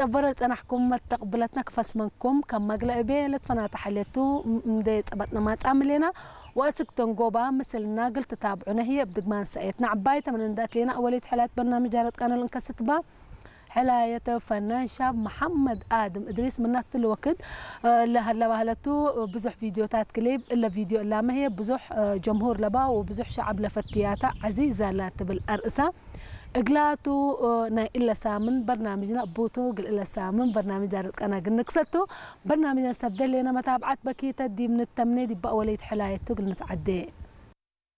ጸበረ ጸናሕኩም መተቕብለትና ክፈስመንኩም ከም መግለኢ ቤ ለትፈናታ ሓልየቱ እንደ ጸባጥና ማጻ ምሌና ወእስክተን ጎባ ምስልና ግልትታብዑነ ህየ ብድግማን ሰኤትና ዕባይ ተመነንዳት ሌና ኣወሌት ሕላት በርናምጃ ረጥቃነል እንከስትባ ሕላየተ ፈናን ሻብ መሓመድ ኣድም እድሪስ ምናት ልወክድ ለሃለባህለቱ ብዙሕ ቪዲዮታት ክሊብ እለ ቪዲዮ እላመህየ ብዙሕ ጀምሁር ለባ ወብዙሕ ሸዓብ ለፈትያታ ዓዚዛ ላ ትብል ኣርእሳ እግላቱ ናይ እለ ሳምን በርናምጅና ቡቱ ግል እለ ሳምን በርናምጅ ኣረጥቀና ግንክሰቱ በርናምጅና ሰብ ደሌና መታብዓት በኪተ ዲም ንተምኔ ዲባ ወለይት ሕላየቱ ግል ንትዓዴ።